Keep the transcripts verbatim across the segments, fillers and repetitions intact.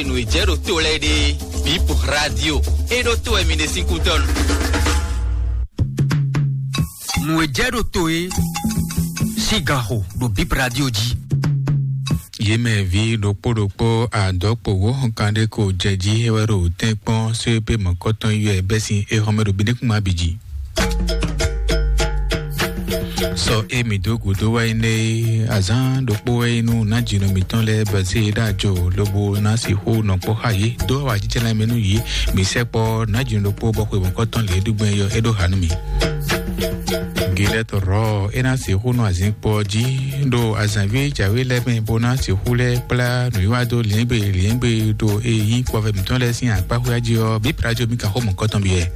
Nǔ e jɛ ɖo to lɛ́ɛ ɖe, Bip Radio, é ɖó to wɛ mi ɖe sín kútɔ́nu. Nǔ e jɛ ɖo to é sín ganxo ɖo Bip Radio jí. Yě mɛ ví ɖokpó ɖokpó adɔ̌kpowó kanɖé ko jɛ jí é wɛ ɖo tɛ́nkpɔ́n só é pé mɔ̌kɔtɔn yi wɛ bɛ́ sín éhɔ́mɛ ɖo bǐ ɖé kún má bǐ jí. Sɔ e mǐ dó gǔdo wá yi nɛ́ é, azǎn ɖokpó wɛ é nú nǎjínɔ mǐtɔn lɛ́ɛ bɛ́ zé é ɖó ajo lobo ná sixú nɔ kpɔ́ xá yě dó awǎjijɛ lɛ́ɛ mɛ nú yě. Mǐ sɛkpɔ́ nǎjínɔ ɖokpó bɔ xwe mɔ̌kɔtɔn lě ɖu gbɛn yɔ é ɖó ha nú mì. Gilɛ́tɔ́ rɔ̌ é ná sixú nɔ azǐnkpo ɔ́ jí ɖo azǎnví jǎwe lɛ́ɛ mɛ bó ná sixú lɛ́ kplá nǔwiwa dó lǐɛ́ngbé lǐɛ́ngbé ɖo e nyí kpɔvɛ mǐtɔn lɛ́ɛ sín akpáxwé jí ɔ́, bí Prajo mì ka xó mɔ̌kɔtɔn byɔ́ ɛ.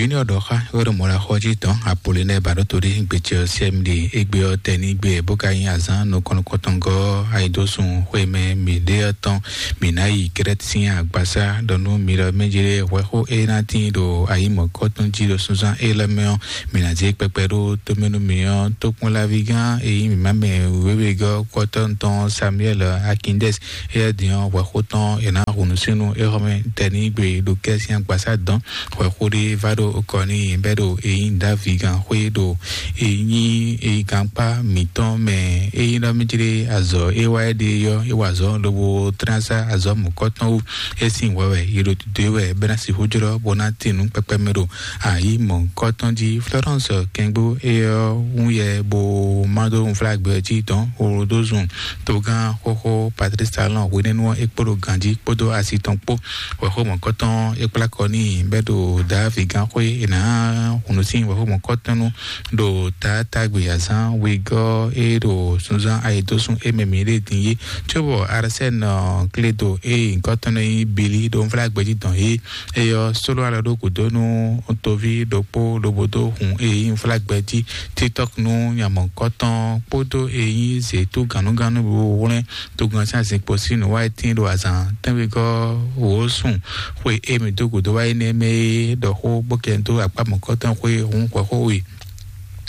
Junior ɖɔ xá wɛ ɖo mɔɖaxɔ jí tɔn apolonɛ baɖótó ɖé gbecɛ ɔ́ sɛ́ mi ɖe égbé ɔ́ tɛ ní gbé ɛ bó ka nyí azǎn nukɔn nukɔntɔngɔ́ ayidósun xwé mɛ mǐ ɖe ɔ́ tɔn. Mǐ ná yi Krɛ́t sín agbasá ɖɔ nú mi ɖɔ mɛjlé hwɛxó e ná tíin ɖo ayǐ mɔ̌kɔtɔn jí ɖo súnzán élɔ́ mɛ ɔ́, mǐ ná zé kpɛkpɛ ɖó tómɛ nú mi ɔ́, tókpɔ́nláví gán e nyí mǐmá mɛ wěwegɔ́ kɔ́tɔ́ tɔn Samuɛ́l Akindɛ́s. Éyɛ́ din ɔ́, hwɛxó tɔn è nǎ hun nǔ sín nú éhɔ́mɛ tɛnígbe ɖo kɛ́ sín agbasá dɔn. Hwɛxó ɖé vá ɖo kɔ n'i bɛ́ ɖo e nyí Davígan xwé ɖo e nyí e gankpá mǐtɔn mɛ. E nyí ɖɔ mí jlé azɔ̌ e wá é ɖe ɔ́, é wa azɔ̌ lobo tlán sá azɔ̌ mɔ̌kɔtɔn wú. É sín hwɛ wɛ è ɖo dǒ e wɛ bɛ́ ná sixú jlɔ́ bó ná tín nǔ kpɛkpɛ mɛ ɖo ayǐ mɔ̌kɔtɔn jí. Florence Kɛngbó é ɔ́ wún yɛ bó má dó unflágbɛ jí dɔn Rodozun togán xóxó Patrice Talon hwenɛ́nu ɔ́ é kpódó ganjí kpódó asi tɔn kpó. Wɛxó mɔ̌kɔtɔn é kplá kɔ n'i bɛ́ ɖo Davígán xwé è nǎ hun nǔ sín wɛxó mɔ̌kɔtɔn nú ɖo taátagbe azǎn wegɔ́ é ɖo súnzán ayǐdósún é mɛ mǐ ɖe din é. Cóbɔ Arsène Kledo é nyǐkɔ tɔn nɔ nyí Bili ɖo unflágbɛ jí dɔn é. Eyɔ sóló alɔ ɖó gǔdo nú toví ɖokpó lobo dó hun e nyí unflágbɛ jí TikTok nú nya mɔ̌hunkɔtɔn kpódó e nyí zětú gannúgannú wú hwlɛ́n togun ɔ́ sín azinkpo sín nǔwiwa e tíin ɖo azǎn tɛ́nwegɔ́ wǒ sun xwe e mǐ dó gǔdo wá énɛ́ mɛ é ɖɔ xó bó kɛ dó akpá mɔ̌hunkɔtɔn xwé hun hwɛxó we.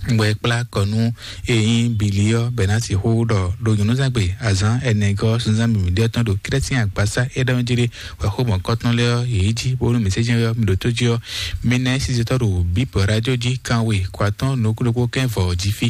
Bɔ é kplá kɔ nú e nyí Bili ɔ́ bɔ é ná sixú ɖɔ ɖo nyɔ̌nuzángbe azǎn ɛnɛgɔ́ sunzán mǐmí ɖé ɔ́ tɔn ɖo Krɛ́t sín agbasá é ɖɔ jí ɖé wɛxó mɔ̌kɔtɔn lɛ́ɛ ɔ́, yě yi jí bónú mǐ sɛ́ jɛ́n ɔ́, mi ɖo tó jí ɔ́, mi ná nyí sinsɛntɔ́ ɖo Bíbɔ rájó jí kanwe kɔ atɔ́ɔ́n nukúnnukún kɛ́n vɔ̌ jí fí.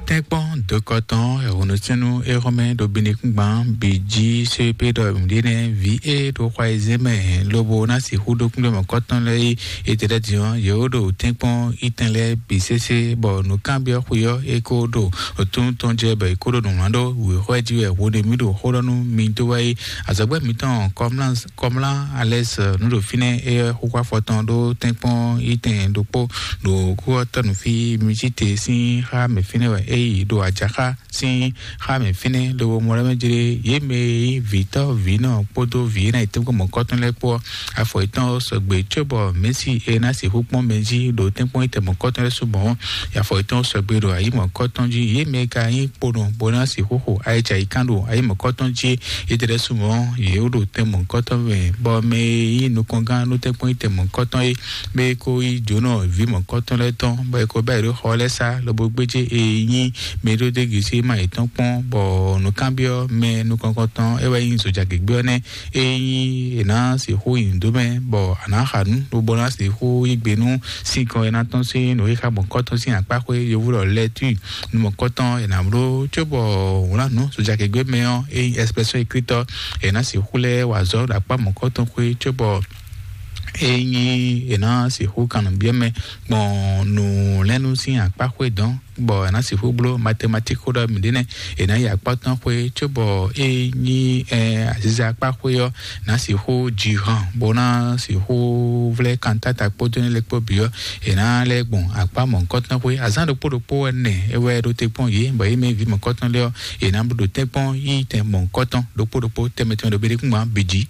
Tɛ́nkpɔ́n dokɔtɔn ɛhɔnusɛnnu éhɔnmɛ ɖo Benikúngban bǐ jí sépé ɖɔ nǔɖé nɛ́ vǐ e ɖo xwa e zé mɛ lobo ná sixú ɖó kúnɖé mɔ̌kɔtɔn lɛ́ɛ é. Étɛ́lɛ́ din ɔ́, yě wó ɖo tɛ́nkpɔ́n itɛn lɛ́ɛ bǐ sésé, bɔ nǔkanbyɔ́ xwe ɔ́, é kó ɖo tún tɔn jɛ bɔ è kó ɖo nǔ wlán ɖó wěxɔ jí wɛ hwodemi ɖo xó ɖɔ nú mi dó wá é. Azɔ̌gbɛ́ mǐtɔn Kɔmlá Kɔmlá Alɛs nǔ ɖo fínɛ́, é xóxó afɔ tɔn ɖó tɛ́nkpɔ́n itɛn ɖokpó ɖo kúxɔtɔ́ nǔ fí mi cí te sín xá mɛ fínɛ́ wɛ é yi ɖo ajaxá sín xá mɛ fínɛ́ lobo mɔ ɖɔ mɛ jlé yě mɛ e nyí vǐtɔ́ vǐnɔ kpódó vǐ e ná yi tɛ́nkpɔ́n mɔ̌kɔtɔn lɛ́ɛ kpó ɔ́, afɔ yětɔn sɔgbe cóbɔ Mɛ̌si e ná sixú kpɔ́n mɛ jí ɖo tɛ́nkpɔ́n itɛn mɔ̌kɔtɔn lɛ́ɛ su mɔ̌. Afɔ yětɔn sɔgbe ɖo ayǐ mɔ̌kɔtɔn jí. Yě mɛ e ka nyí kponɔ bó ná sixú xo ayǐjayǐkan ɖo ayǐ mɔ̌kɔtɔn jí é, yětɛ́ lɛ́ɛ su mɔ̌ yě ɖo tɛn mɔ̌kɔtɔn mɛ, bɔ mɛ e nyí nukɔngán nú tɛ́nkpɔ́n itɛn mɔ̌kɔtɔn é, mɛ e ko yí jǒnɔ vǐ mɔ̌kɔtɔn lɛ́ɛ tɔn, bɔ è ko bɛ́ yě ɖó xɔ lɛ́ɛ sá lobo gbéjé e nyí mɛ ɖó dégǐ sí ma yětɔn kpɔ́n, bɔ nǔkanbyɔ́ mɛ nukɔntɔn é wɛ nyí zojagěgbé ɔ́ nɛ́. Ényí è nǎ sixú nyi nǔ dó mɛ, bɔ a nǎ xa nǔ, lobo ná sixú yí gbe nú sinkɔn e ná tɔ́n sín nǔxixa mɔ̌kɔtɔn sín akpáxwé yovo ɖɔ lɛ́túi nú mɔ̌kɔtɔn è nǎ bló, cóbɔ wlǎn nǔ sojagěgbé mɛ ɔ́, ényí ɛsipɛsɔn ékritɔ́ è nǎ sixú lɛ́ wa azɔ̌ ɖo akpá mɔ̌kɔtɔn xwé, cóbɔ ényí è nǎ sixú kan nǔ byɔ́ mɛ gbɔn nǔ lɛ́ɛ nú sín akpáxwé dɔn, bɔ è nǎ sixú bló matematík xó ɖɔ mǐ ɖe nɛ́, è nǎ yi akpá tɔn xwé, cóbɔ é nyí ɛ aziza akpá xwé ɔ́, nǎ sixú ji han, bó ná sixú vlɛ́ kantáta kpódó nɛ́ lɛ́ɛ kpó bǐ ɔ́, è nǎ lɛ́ gbɔn akpá mɔ̌hunkɔtɔn xwé. Azǎn ɖokpó ɖokpó ɛnɛ é wɛ ɖó te kpɔ́n yě, bɔ yě mɛ vǐ mɔ̌hunkɔtɔn lɛ́ɛ ɔ́, è nǎ ɖo tɛ́nkpɔ́n yí tɛn mɔ̌hunkɔtɔn ɖokpó ɖokpó tɛnmɛ tɛnmɛ ɖo béɖékúngban bǐ jí.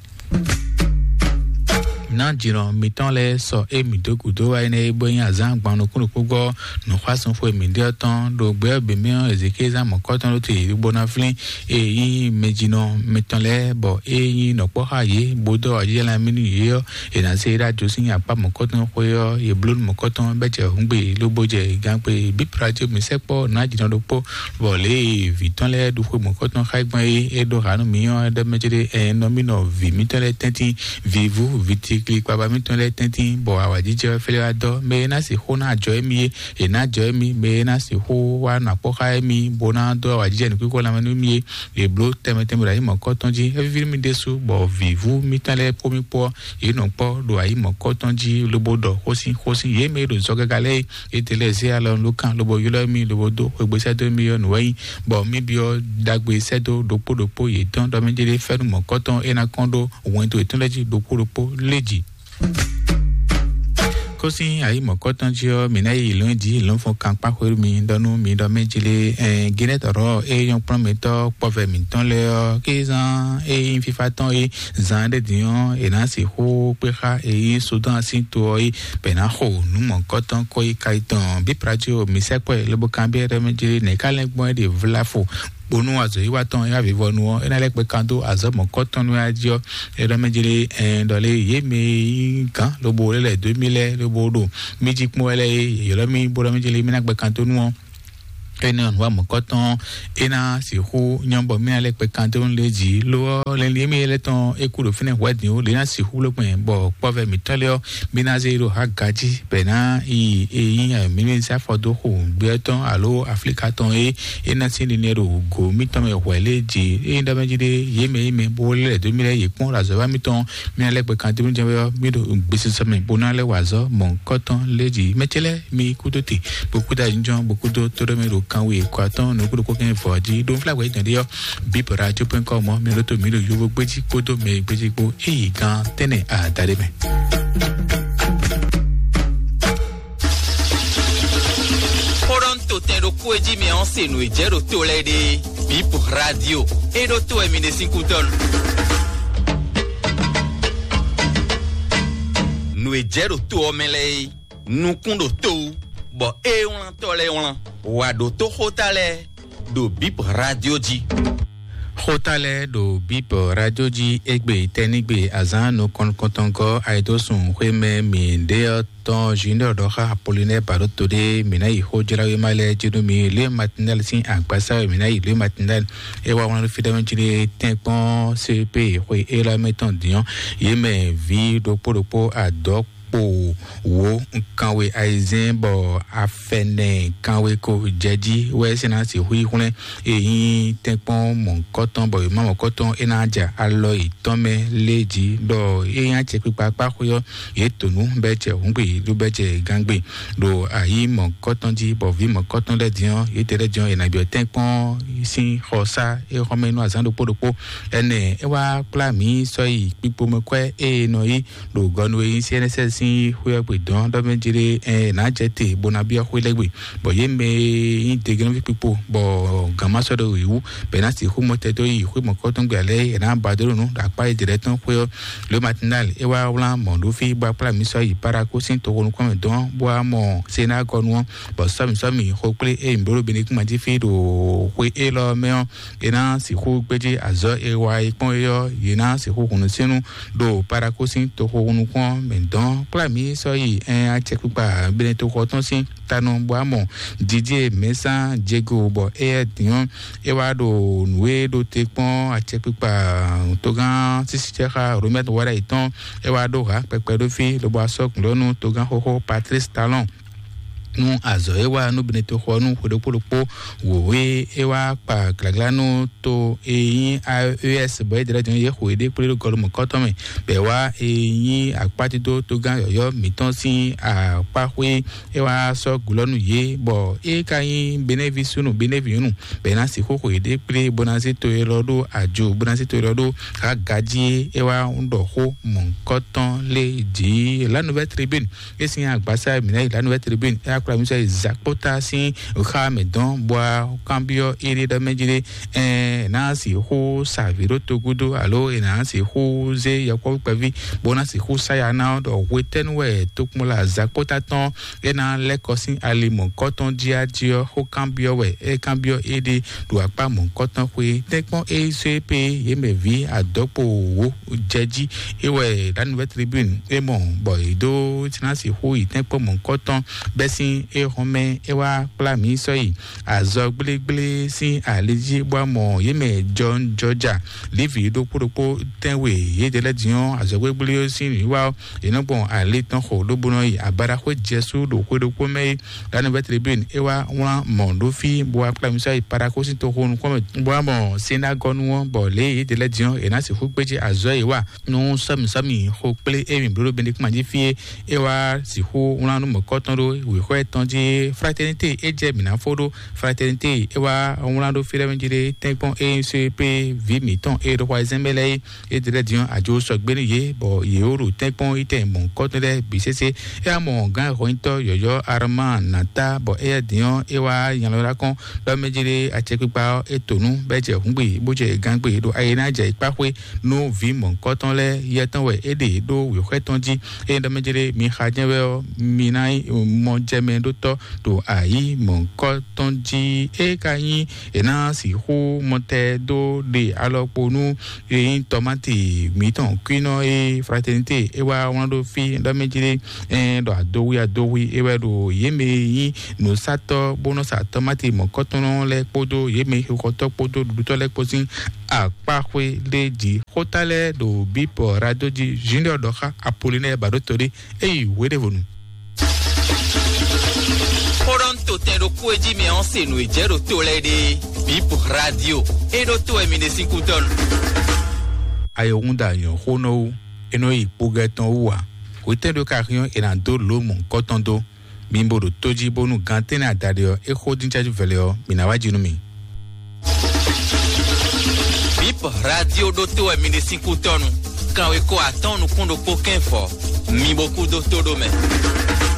Nǎjínɔ mitɔn lɛ́ɛ sɔ émí dó gǔdo wá énɛ́ e bó nyí azǎn gban nukúnnukúngbɔ nǔxwásúnxwe mǐɖée ɔ́ tɔn ɖo gbɛ ɔ́ bǐ mɛ ɔ́, Ezekíza mɔ̌kɔtɔn ɖó te bó ná flín e nyí mɛjínɔ mitɔn lɛ́ɛ, bɔ é nyí nɔ̌kpɔ́ xá yě bó dó ajijɛ lɛ́ɛ mì nú yě ɔ́, è nǎ zé ɖó ajo sín akpá mɔ̌kɔtɔn xwé ɔ́, yě bló nú mɔ̌kɔtɔn bɛ́ jɛ hǔngbe lobo jɛ gǎnkpe bíplá jí mǐ sɛkpɔ́ nǎjínɔ ɖokpó, bɔ lě e vǐ tɔn lɛ́ɛ ɖu xwe mɔ̌kɔtɔn xá gbɔn é é ɖó hǎ nú mǐ ɔ́, é ɖɔ mɛ céɖé ɛ nɔ mì nɔ vǐ mítɔn lɛ́ɛ tɛ́ntin, vǐvú, vǐtikli kpaba mítɔn lɛ́ɛ tɛ́ntin, bɔ awǎjijɛ wɛ fɛ́ wá dɔ́. Mɛ e ná sixú ná ajɔ émí é, è nǎ jɔ émí. Mɛ e ná sixú wá nɔ akpɔ́ xá émí, bó ná dó awǎjijɛ nǔkúkú lanmɛ nú mì é, è bló tɛnmɛ tɛnmɛ ɖo ayǐ mɔ̌kɔtɔn jí. É víví nú mì ɖésú, bɔ vǐvú mítɔn lɛ́ɛ kpó mì kpó ɔ́, yě nɔ kpɔ́ ɖo ayǐ mɔ̌kɔtɔn jí, lobo ɖɔ xósin xósin. Yě mɛ e ɖo zɔ gaga lɛ́ɛ é, é te lɛ́ zé alɔ nú kan lobo ylɔ́ mì, lobo dó xwegbe sɛ́ dó mì ɔ́ nǔ wɛ nyí, bɔ mì byɔ́ ɖagbe sɛ́ dó ɖokpó ɖokpó yětɔn ɖɔ mɛ jɛ́ɖɛ́ fɛ́nú mɔ̌kɔtɔn e ná kɔn ɖó wɛn dó yětɔn lɛ́ɛ jí ɖokpó ɖokpó lé jǐ. Kó sín ayǐ mɔ̌kɔtɔn jí ɔ́, mǐ ná yi lɔ̌n jí lɔ̌nfɔn kan kpá xwé mi ɖɔ nú mi ɖɔ mɛ jlé ɛn Ginɛtɔrɔ e nyɔ́ kplɔ́n mǐtɔn kpɔ́vɛ mǐtɔn lɛ́ɛ ɔ́, kí zán e nyí fífá tɔn é zán ɖé din ɔ́, è nǎ sixú kpé xá e nyí Sudan sín to ɔ́ é, bɛ ná xo nǔ mɔ̌kɔtɔn kó yi ka yi tɔn bí Plato mi sɛkpɔ́ ɛ lobo kanbyɔ́ ɖɔ mɛ jlé nɛ̌ ká lɛ́ gbɔn é ɖe vlafo bónú azɔ̌ yí wá tɔn é wá vivɔnu ɔ́, é ná lɛ́ kpɛ kan dó azɔ̌ mɔ̌kɔtɔn nú é jí ɔ́, é ɖɔ mɛ jlé ɛn ɖɔ lé yě mɛ e nyí gǎn lobo lɛ́ lɛ̌ dó mì lɛ́ɛ lobo ɖo mì jí kpɔ́n wɛ lɛ́ɛ é, yě ylɔ́ mì bó ɖɔ mɛ jlé mì ná kpɛ kan dó nú ɔ́. Énɛ́ ɔ́, nǔ wa mɔ̌kɔtɔn é ná sixú nyɔ́ bɔ mì ná lɛ́ kpɛ kan dó nú lě jí. Lo ɔ́, lɛnlin émí lɛ́ tɔn é kú ɖo fínɛ́ hwɛ̌ din ó, lě ná sixú bló gbɛn bɔ kpɔ́vɛ mǐtɔn lɛ́ɛ ɔ́, mì ná zé ɖo Haga jí, bɔ è ná yi e nyí mǐ ní zé afɔ dó xo gbé ɔ́ tɔn alo Aflíka tɔn e é ná sín linlɛn ɖo gǒ mítɔn mɛ hwɛ̌ lé jí. É nyí ɖɔ mɛ jí ɖé, yě mɛ yí mɛ bó lɛ́ dó mì lɛ́ɛ yě kpɔ́n ɖo azɔ̌ wa mítɔn, mì ná lɛ́ gbɛ kan dó mì jɛ́n wɛ ɔ́, mì ɖo gbesisɔ mɛ bó ná lɛ́ wa azɔ̌ mɔ̌hunkɔtɔn lé jí. Mɛ ce lɛ́ɛ mi kúdó te, bó kúdó ayǐjínjɔ́n, bó kúdó tóɖɔmɛ ɖo kanwe kɔ atɔ́ɔ́n nukúɖokpó kɛ́n vɔ̌ jí. Ɖo nflá hwɛ̌ jɛ́n ɖé ɔ́, bip radio point com ɔ́, mi ɖó tó mǐ ɖo yovo gbéjí kpódó mɛ gbéjí kpó. Eyi gan tɛ́nɛ adaɖé mɛ. Xó ɖɔ ń to tɛn ɖokpó e jí mi ɔ́ se nǔ e jɛ ɖo to lɛ́ɛ ɖe. Bip radio. E ɖó to wɛ mi ɖe sín kútɔ́ nu. Nǔ e jɛ ɖo to ɔ́ mɛ lɛ́ɛ é, nukún ɖo to wú, bɔ é wlán tɔ́ lɛ́ɛ wlán. Wǎ ɖótó xóta lɛ́ɛ ɖo bip radio jí. Xóta lɛ́ɛ ɖo bip radio jí égbé tɛ́nigbe azǎn nukɔn nukɔntɔngɔ́ ayidósun xwé mɛ mǐ ɖe ɔ́ tɔn Junior ɖɔ xá Apollinaire Baɖóto ɖé, mǐ ná yi xójláwéma lɛ́ɛ jí nú mi. Lě Matinal sín agbasa wɛ mǐ ná yi. Lě Matinal é wá wlán fí ɖɔ mɛ jí ɖé tɛ́nkpɔ́n C P xwe élɔ́ mɛ tɔn dǐn ɔ́, yě mɛ vǐ ɖokpó ɖokpó adɔ̌ kpo wǒ kanwe ayizɛ́n bɔ afɛnɛ kanwe ko jɛ jí wɛ é sɛ́ ná sixú yi hwlɛ́n e nyí tɛ́nkpɔ́n mɔ̌hunkɔtɔn bɔ yě má mɔ̌hunkɔtɔn é ná ja alɔ yětɔn mɛ lé jí ɖɔ é nyí acɛkpikpa kpá xwé ɔ́, yě to nǔ bɛ́ jɛ hǔngbe yě ɖó bɛ́ jɛ gángbe ɖo ayǐ mɔ̌hunkɔtɔn jí, bɔ vǐ mɔ̌hunkɔtɔn lɛ́ɛ din ɔ́, yě tɛ́ lɛ́ din ɔ́, è nǎ byɔ́ tɛ́nkpɔ́n sín xɔ sá é xɔ́mɛ nú azǎn ɖokpó ɖokpó. Énɛ́ é wá kplá mǐ sɔ́ yi kpikpomɛkwɛ́ e è nɔ yí ɖo gɔnu e nyí C N S S sín xwé ɔ́ gbe dɔn ɖɔ mɛ jlé ɛ nǎ jɛ te bó ná byɔ́ xwé lɛ́ɛ gbe, bɔ yě mɛ e nyí degenɔ́ví kpikpo bɔ gǎn ma sɔ́ ɖo yě wú, bɔ è nǎ sixú mɔ tɛ dó yi xwé mɔ̌kɔtɔn gbe alɛ è nǎ ba dó ɖo nǔ ɖo akpá e dě lɛ́ɛ tɔn xwé ɔ́. Le Matinal é wá wlán mɔ̌ ɖó fí bó wá kplá mǐ sɔ́ yi Paraku sín toxo nukúnmɛ dɔn bó wá mɔ Senágɔnu ɔ́, bɔ sɔ́mǐ sɔ́mǐ xo kplé e mǐ bló ɖo Benekúnma jí fí ɖo xwe élɔ́ mɛ ɔ́, è nǎ sixú gbéjé azɔ̌ e wa yi kpɔ́n é ɔ́, yě ná sixú hun nǔsínnú ɖo Paraku sín toxo nukún ɔ́ mɛ dɔn kplá mǐ sɔ́ yi ɛn acɛkpikpa Benetoxɔ tɔn sín tanɔ bɔ amɔ Didier Mɛsán Diego bɔ éyɛ́ din ɔ́, é wá ɖo nǔ e ɖo te kpɔ́n acɛkpikpa togán sísícɛ́xá Romɛt Wáɖayi tɔn, é wá ɖó hǎ kpɛkpɛ ɖó fí lobo asɔ́ gǔlɔ́nú togán xóxó Patrice Talon nú azɔ̌ e wa nú Benetoxɔ nú xwe ɖokpó ɖokpó wǒ e é wá kpa glǎglá nú to e nyí A E S bɔ é dlɛ́ din yě xo yěɖée kplé ɖo gɔlumɔ̌kɔ́tɔn mɛ, bɔ é wá e nyí akpátídó togán yɔ̌yɔ́ mǐtɔn sín akpáxwé é wá sɔ́ gǔlɔ́ nú yě, bɔ é ka nyí Benɛ́ví súnnu Benɛ́ví nyɔ̌nu, bɔ é ná sixú xo yěɖée kplé bó ná zé to élɔ́ ɖó ajo, bó ná zé to élɔ́ ɖó Haga jí. É wá ɖɔ xó mɔ̌hunkɔtɔn lé jǐ. La Nouvelle Tribune, é sín agbasá mǐ ná yi La Nouvelle Tribune, é wá kplá mì sɔ́ yi Zakpota sín xá mɛ dɔn bɔ kanbyɔ́ éɖé ɖɔ mɛ jí ɖé, ɛ ná sixú sa vǐ ɖó togúdo alo è nǎ sixú zé yɔkpɔ́vú kpɛví bó ná sixú sa ya ná ɔ́ ɖɔ hwetɛ́nu wɛ tokpɔnla Zakpota tɔn é ná lɛ́ kɔ sín ali mɔ̌kɔ́tɔn jí á jí ɔ́, xó kanbyɔ́ wɛ é kanbyɔ́ éɖée ɖo akpá mɔ̌kɔ́tɔn xwé tɛ́nkpɔ́n é só é pé yě mɛ vǐ adɔ̌kpo wǒ jɛ jí. É wɛ ɖǎnuvɛ́ tribune é mɔ bɔ yě dó ná sixú yi tɛ́nkpɔ́n mɔ̌kɔ́tɔn bɛ́ sín é hɔn mɛ é wá kplá mǐ sɔ́ yi azɔ gblégblé sín ali jí bó wá mɔ yě mɛ jɔnjɔja Livi ɖokpó ɖokpó tɛ́nwe yědɛɛ lɛ́ɛ din ɔ́, azɔ̌gbégbléyó sín nǔwiwa ɔ́, è nɔ gbɔn ali tɔn xo lóbó nɔ yi abadaxwé Jesu ɖo xwé ɖokpó mɛ é. Ɖanivɛ́ tribune é wá wlán mɔ̌ ɖó fí bó wá kplá mi sɔ́ yi Paraxó sín toxo nukún mɛ bó wá mɔ Sinagɔnu ɔ́, bɔ lě e yědɛɛ lɛ́ɛ din ɔ́, è nǎ sixú gbéjé azɔ̌ e è wa nú sɔ́mǐsɔ́mǐ xo kplé e mǐ bló ɖo Benedikt jí fí é. É wá sixú wlán nú mɔ̌kɔ́tɔn ɖó wěxɔ tɔn jí Fraternité é jɛ mǐ ná fó ɖó. Fraternité é wá wlán ɖó fí lɛ́ɛ mɛ jí ɖé tɛ́nkpɔ́n é nyí só é pé vǐ mǐtɔn e ɖo xɔ ayizɛ́n mɛ lɛ́ɛ é. É ɖi lɛ́ɛ din ɔ́, ajo sɔgbe nú yě, bɔ yě wó ɖo tɛ́nkpɔ́n yi tɛn mɔ̌hunkɔtɔn lɛ́ɛ bǐ sésé. É wá mɔ gǎn hɔnyitɔ́ yɔ̌yɔ́ Arama Nata, bɔ éyɛ́ din ɔ́, é wá nylɔ́ ɖó akɔ́n ɖɔ mɛ jí ɖé acɛkpikpa ɔ́, é to nú bɔ é jɛ hǔngbe, bó jɛ gǎngbe ɖo ayi ná jɛ yi kpá xwé nú vǐ mɔ̌hunkɔtɔn lɛ́ɛ. Yɛ tɔn wɛ é ɖe ɖó wěxwɛ́ tɔn jí. Ényí ɖɔ mɛ jí ɖé mi xa jɛ́n wɛ ɔ́, mi ná nyí mɔjɛmɛɖótɔ́ ɖo ayǐ mɔ̌hunkɔtɔn jí. É ka nyí è nǎ sixú mɔtɛn dó ɖe alɔkpo nú e nyí tɔmáti mǐtɔn kwínɔ e Fraternité é wá wlán ɖó fí ɖɔ mɛ jí ɖé, ɛ ɖɔ adowi adowi é wɛ ɖo yě mɛ e nyí nǔsatɔ́ bó nɔ sa tɔmáti mɔ̌kɔtɔn lɛ́ɛ kpódó yě mɛ xixɔtɔ́ kpódó ɖuɖutɔ́ lɛ́ɛ kpó sín akpáxwé lé jí. Xóta lɛ́ɛ ɖo bípɔ rado jí Junior ɖɔ xá Apolinɛ́ɛ ba ɖó to ɖé é yi hweɖěvonu. Xó ɖɔ un to tɛn ɖokpó e jí mɛ ɔ́ se nǔ e jɛ ɖo to lɛ́ɛ ɖe. Bip radio é ɖó to wɛ mi ɖe sín kútɔ́nu. Ayɔhúnda nyɔ̌ xó nɔ wú, é nɔ yi kpógɛ́ tɔn wú ǎ. Hwetɛ́ ɖó ka hyɔ́n è nǎ dó lǒ mɔ̌hunkɔtɔn dó? Mi bo ɖo tó jí bónú gan tɛ́nnɛ adaɖé ɔ́, é xó dín cájú vɛlɛ ɔ́, mǐ ná wá jí nú mi. Bip radio ɖó to wɛ mi ɖe sín kútɔ́nu. Kanwekó atɔ́ɔ́n nukún ɖokpó kɛ́n fɔ. Mi bo kú dó tó ɖó mɛ.